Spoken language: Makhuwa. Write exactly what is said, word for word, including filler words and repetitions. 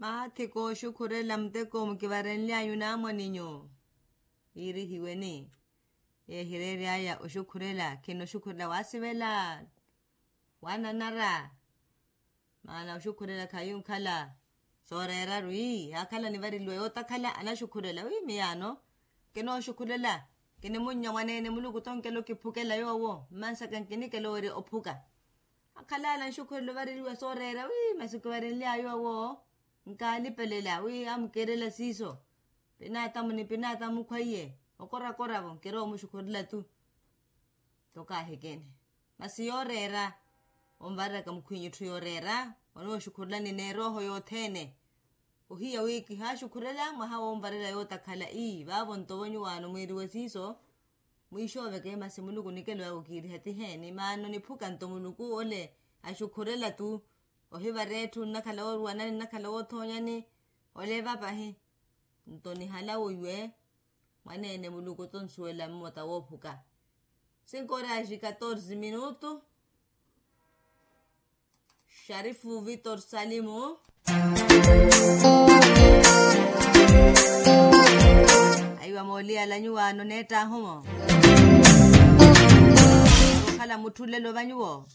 Maathi kooxukhurela muteko mukivarenly'anyu naamwaninyu. Iirihiweni yeehireery'aya oxukhurela khinoxukhurela waasivela, waananara. Maana oxukhurela khayi onkhala sooreeraru ii yaakhala anivareliwa yootakhala anaxukhurela wi miyaano. Kinooxukhurela kinimunnya mwaneene muluku tonkela okiphukela yoowo mmansaka nkinikela owerya ophuka. Akhala ala nxukhurela ovareliwa sooreera wi masi okivarenly'aya yoowo. Nkaalipelela wi amukiirela siiso pinaatamu ni pinaatamu khwaiye okorakora-vo nkirowa omuxukhurela tu. Nto kaahikene masi yooreera onvareraka mukhwinyu etthu yooreera onooxukhurelani n'erooho yothene. Ohiya wi kihaaxukhurela mwaha woonvarela yootakhala ii vaavo nto vonyuwaano mwiiriwe siiso. Mwiixooveke masi muluku nikelo yawe okiiriha ti heeni maana oniphuka nto muluku ole axukhurela tu. Ohivara etthu nnakhala wooruwanani nnakhala woothoonyani. Ole evapahi nto nihala woiwe mwaneene muluku tonsuwela mmota woophuka. Cinco horas e catorze minutos. Xarifu vitor salimu. Aiwa mooliyala nyuwaano neettaahumo okhala mutthulelo va nyuwo.